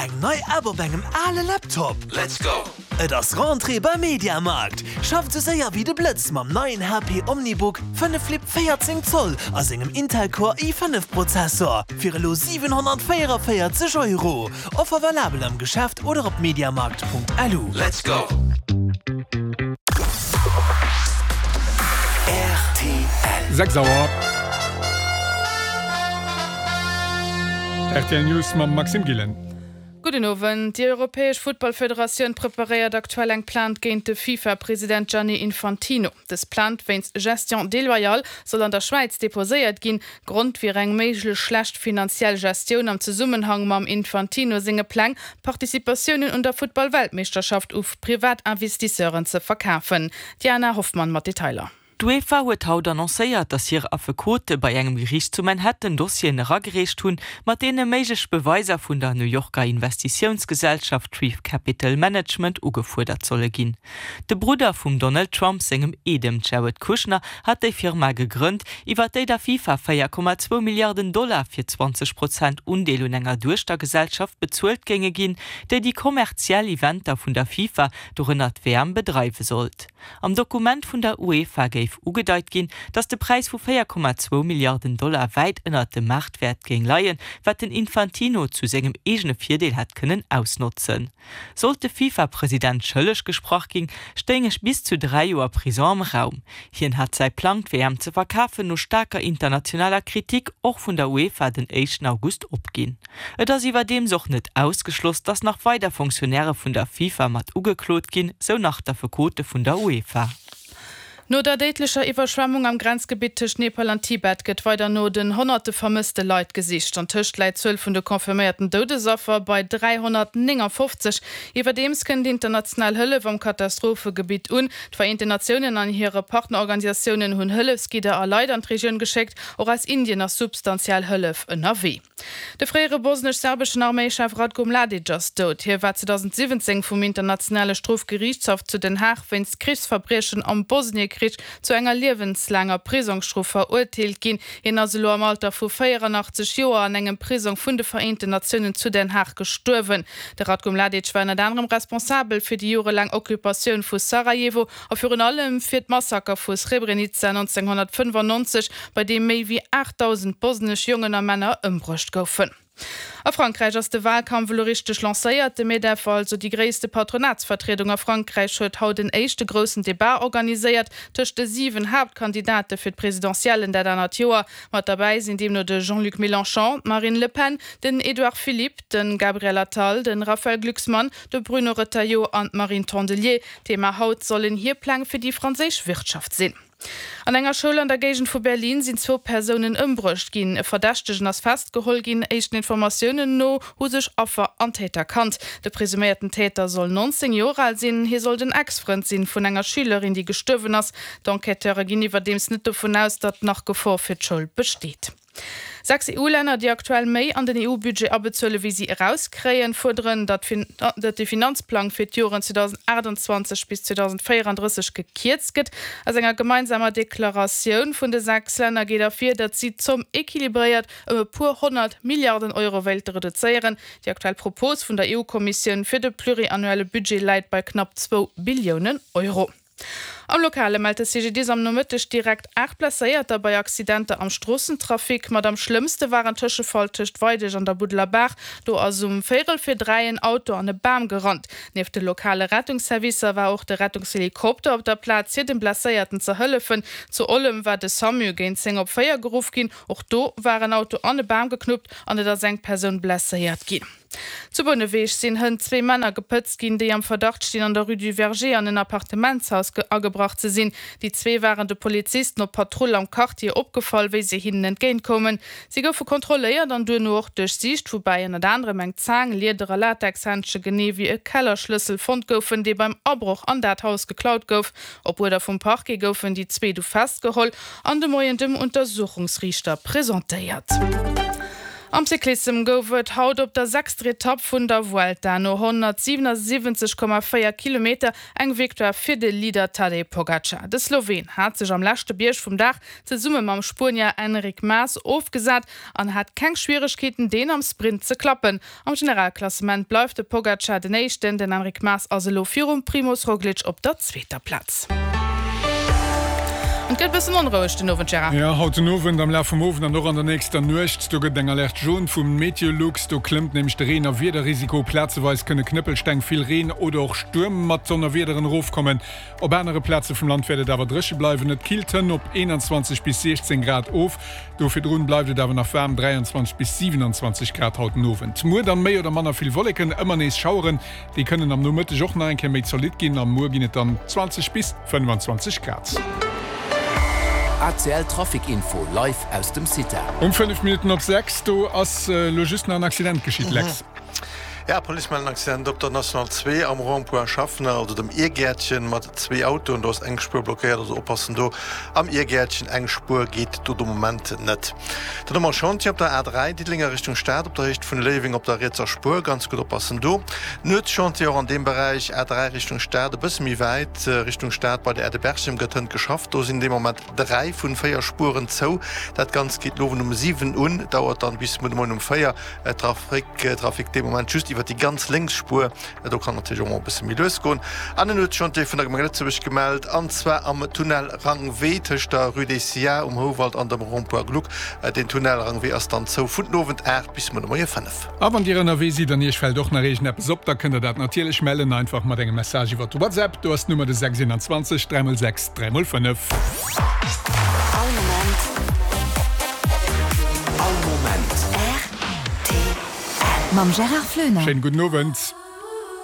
Eng nei App op engem ale Laptop? Let's go! Et ass Rentrée beim Mediamarkt! Schafft sou séier wéi de Blëtz mam neien HP OmniBook 5 Flip 14 Zoll a sengem Intel Core i5 Prozessor fir elo 744 Euro. Offer valabel am Geschäft oder op mediamarkt.lu. Let's go! Rtl. 6 Auer. Rtl News mam Maxime Gillen. Gudden Owend. Déi europäesch Futtballfederatioun preparéiert aktuell eng Plainte géint de FIFA-President Gianni Infantino. Dës Plainte wéinst Gestion déloyale soll an der Schwäiz deposéiert ginn. Grond wier eng méiglech schlecht finanziell Gestioun am Zesummenhang mam Infantino senge Pläng, Participatiounen un der Futtball-Weltmeeschterschaft u privat Investisseuren ze verkafen. D'Diana Hoffmann mat Detailer. D'UEFA huet haut annoncéiert, datt hir Affekote bei engem Geriicht zu Manhattan Dossieren eragereecht hunn, mat deene méiglech Beweiser vun der New Yorker Investitiounsgesellschaft Treef Capital Management ugefuerdert solle ginn. De Brudder vum Donald Trump sengem Eedem Jared Kushner hat déi Firma gegrënnt, iwwer déi der FIFA 4,2 Milliarden Dollar fir 20 Prozent Undeel un enger Duechtergesellschaft bezuelt géinge ginn, déi déi kommerziell Eventer vun der FIFA, dorënner d'WM, bedreiwe sollt. Am Dokument vun der UEFA géif ugedeit ginn, datt de Präis vu 4,2 Milliarden Dollar wäit ënnert dem Maartwäert géing leien, wat den Infantino zu sengem eegene Virdeel hätt kënnen ausnotzen. Sollt de FIFA-President schëlleg gesprach ginn, stéing bis zu 3 Joer Prison am Raum. Hien hat säi Plang, d'WM ze verkafen, no staarker internationaler Kritik och vun der UEFA den éischten August opginn. Et ass iwwerdeems och net ausgeschloss, datt nach weider Fonctionnairë vun der FIFA mat ugeklot ginn, sou nach d'Affekote vun der UEFA. No der déidlecher Iwwerschwemmung am Grenzgebitt tëscht Nepal an Tibet gëtt weider no den honnerte vermësste Leit gesicht. An tëscht läit d'Zuel vun de confirméierten Doudesaffer bei 359. Iwwerdeems kënnt international Hëllef am Katastrophegebitt un. D'Vereenten Natiounen an hire Partnerorganisatiounen hunn Hëllefsgidder a Leit an d'Regioun geschéckt. Och aus Indien ass substantiell Hëllef ënnerwee. De fréiere bosnesch-serbeschen Arméichef Ratko Mladic ass dout. Hie war 2017 vum Internationale Strofgeriichtshaff zu Den Haag wéinst Krichsverbriechen am Bosniekrich zu enger liewenslaanger Prisongsstrof verurteelt ginn. Hien ass elo am Alter vu 84 Joer an engem Prisong vun de Vereenten Natiounen zu Den Haag gestuerwen. De Ratko Mladic war ënnert anerem responsabel fir déi jorelaang Occupatioun vu Sarajevo a virun allem fir d'Massaker vu Srebrenica 1995, bei deem méi wéi 8.000 bosnesch Jongen a Männer ëmbruecht goufen. A Frankräich ass de Walkampf elo richteg lancéiert. De Medef, also déi gréisste Patronatsvertriedung a Frankräich, huet haut en éischte groussen Debat organiséiert tëscht de 7 Haaptkandidate fir d'Presidentiellen dat anert Joer. Mat derbäi sinn deemno de Jean-Luc Mélenchon, d'Marine Le Pen, den Edouard Philippe, de Gabriel Attal, de Raphaël Glucksmann, de Bruno Retailleau an d'Marine Tondelier. Thema haut sollen hir Pläng fir déi franséisch Wirtschaft sinn. An enger Schoul an der Géigend vu Berlin sinn zwou Persounen ëmbruecht ginn. E Verdächtegen ass festgeholl ginn. Éischten Informatiounen no hu sech Affer an Täter kannt. De presuméierten Täter soll 19 Joer al sinn. Hie soll den Ex-Frënd sinn vun enger Schülerin, déi gestuerwen ass. D'Enquêteure ginn iwwerdeems net dovun aus, datt nach Gefor fir d'Schoul besteet. 6 EU-Länner, déi aktuell méi an den EU-Budget abezuele wéi si erauskréien, fuerderen, datt de Finanzplang fir d'Joren 2028 bis 2034 gekierzt gëtt. Aus enger gemeinsamer Deklaratioun vun de 6 Länner geet ervir, datt si d'Zomm equilibréiert ëm e puer 100 Milliarden Euro wéilte reduzéieren. Déi aktuell Propos vun der EU-Kommissioun fir de pluriannuelle Budget läit bei knapp zwou Billiounen Euro. Am Lokale mellt de CGDIS am Nomëtteg direkt 8 Blesséierter bei Accidenter am Stroossentrafic. Mat am schlëmmste war en Tëschefall tëscht Weideg an der Buddeler Baach. Do ass um véierel vir 3 en Auto an e Bam gerannt. Nieft de lokale Rettungsservicer war och de Rettungshelikopter op der Plaz, fir dem Blesséierten ze hëllefen. Zu Ollem war de Samu géint 10 op 4 geruff ginn. Och do war en Auto an e Bam geknuppt an et ass eng Persoun blesséiert ginn. Zu Bouneweg sinn hënt zwee Männer gepëtzt ginn, déi am Verdacht stinn, an der Rue du Verger an en Appartementshaus agebrach ze sinn. Déi zwee waren de Polizisten op Patrull am Quartier opgefall, wéi se hinnen entgéint koumen. Si goufe kontrolléiert an duerno och duerchsicht, woubäi ënnert anerem eng Zaang, Lieder a Latexhändsche genee wéi e Kellerschlëssel fonnt goufen, dee beim Abroch an dat Haus geklaut gouf. Op Uerder vum Parquet goufen déi zwee du festgeholl an de Moien dem Untersuchungsriichter presentéiert. Am Cyclissem gouf et haut op der sechster Etapp vun der Vuelta no 177,4 Kilometer eng Victoire fir de Leader Tadej Pogacar. De Sloween hat sech am leschte Bierg vum Dag zesumme mam Spuenier Enric Mas ofgesat an hat keng Schwieregkeeten, deen am Sprint ze klappen. Am Generalklassement bleift de Pogacar den Éischten, den Enric Mas ass elo virum Primoz Roglic op der zweeter Plaz. An et gëtt e bëssen onroueg den Owend, Gérard. Jo, haut den Owend, am Laf vum Owend an och an der nächster Nuecht, do gëtt et eng Alerte jaune vum Meteolux. Do klëmmt nämlech de Reen a Wiederrisiko. Plazeweis kënne Knëppelsteng, vill Reen oder och Stuerm mat Donnerwiederen erofkommen. Op anere Plaze vum Land wäert et awer dréche bleiwen. Et killt hënn op 21 bis 16 Grad of. Do virdrun bleift et awer nach waarm, 23 bis 27 Grad haut den Owend. Muer dann méi oder manner vill Wolleken, ëmmer nees Schaueren, déi kënnen am Nomëtteg och nach eng Kéier méi zolidd ginn a muer ginn et dann 20 bis 25 Grad. ACL Trafic Info live aus dem CITA. Um 5 Minutten op 6, do ass elo just nach en Accident geschitt, Lex. Ja, Police mellen Accident op der National 2 am Rond-point Schaffner, also dem Irgäertchen, mat zwee Autoen. Do ass eng Spuer blockéiert, also oppassen do am Irgäertchen, eng Spuer geet do de Moment net. Dann hu mer e Chantier op der A3 Diddeleng a Richtung Stad op der Héicht vun Léiweng op der rietser Spuer, ganz gutt oppassen do. Nuetschantier och an deem Beräich, A3 Richtung Stad, e bësse méi wäit Richtung Stad bei der Aire de Berchem gëtt hënt geschafft. Do sinn dee Moment 3 vun 4 Spueren zou. Dat Ganzt geet den Owend um 7 un, dauert dann bis muer de Moien um 4. Trafic Trafic dee Moment just iwwer déi ganz lénks Spuer. Do kann natierlech och mol e bësse méi lues goen. An en huet Chantier vun der Gemeng Lëtzebuerg gemellt, an zwar am Tunnel Rang Wee tëscht der Rue des Sia um Houwald an dem Rond-point Gluck. Den Tunnel Rang Wee ass dann zou vun den Owend 8 bis muer de Moie 5. A wann Dir ënnerwee sidd an Iech fält och nach iergendeppes op, da kënnt Der dat natierlech mellen, einfach mat engem Message iwwer WhatsApp. Do ass d'Nummer de 6 21 3 x 6 3 x 5. All Moment. All Moment. Rtl. Mam Gérard Floener. Schéinen gudden Owend.